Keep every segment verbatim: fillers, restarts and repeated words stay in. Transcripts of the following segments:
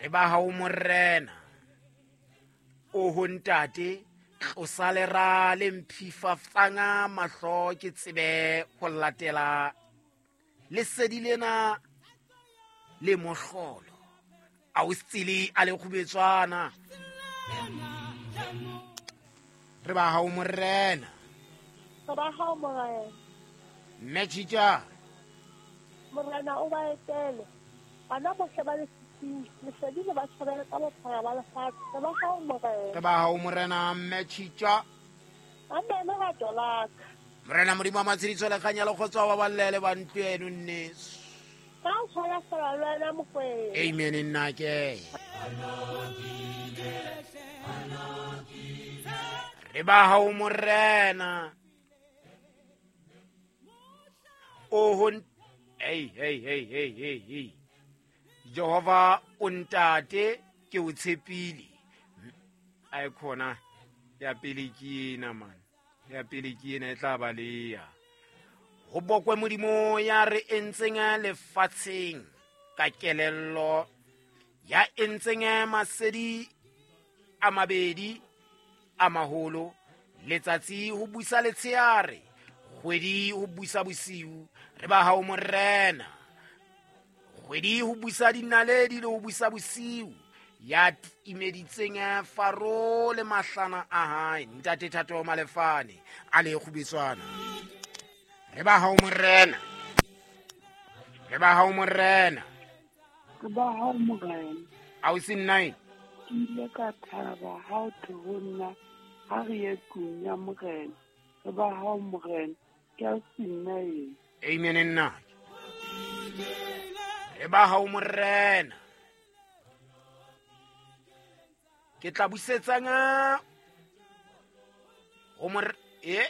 Re ba hao morena. Oho ntate, tlosa lera le mphifatsang mahlo ke tsebe ho latela lesedi lena le mohlolo. A o setsele a le kgubetswana. Re ba hao morena. Re ba hao morena. Mme Tjitja. Morena o ba etele. Bana bohle ba lefifing, lesedi le ba tjhabele ka bophara ba lefatshe. Re ba hao morena. Re ba hao morena Mme Tjitja. Amen, lerato la ka. Morena Modimo wa matshediso le kganya le kgotso wa ballele ba ntlo eno nneso. Ka o tshwara fela le wena Mokwena. Amen nna ke. Re ba hao morena. Oho, hey hey hey hey hey hey. Jehova o ntate ke o tshepile. Ai khona ya pele ke ena man. Ya pele ke ena e tla ba leya. Ho bokwe Modimo ya re entseng lefatsheng ka kelello, ya entseng masedi a mabedi a maholo, letsatsi ho busa letsheare, kgwedi ho busa bosiu. Re ba hao morena. Kgwedi ho busa dinaledi le ho busa bosiu, ya timeditseng Faro le mahlana a hae. Ntate Thato Malefane a le kgubetswana. Re ba hao morena. Re ba hao morena. Re ba hao morena. Ausi nine. Ke ile ka thaba ha o thwe ho nna ha re ye tlung ya morena. Re ba hao morena. Ke ausi nine. Amen nna. Re ba hao morena. Ke tla busetsang ho mor e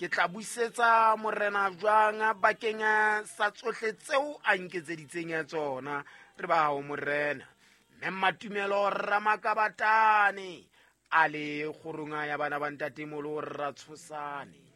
ke tla busetsa morena jwang bakeng sa tsohle tseo a nketseditseng ya tsona. Re ba hao morena. Mme Matumelo Ramakabatane a le kgorong ya bana ba ntate molo ra tshosane.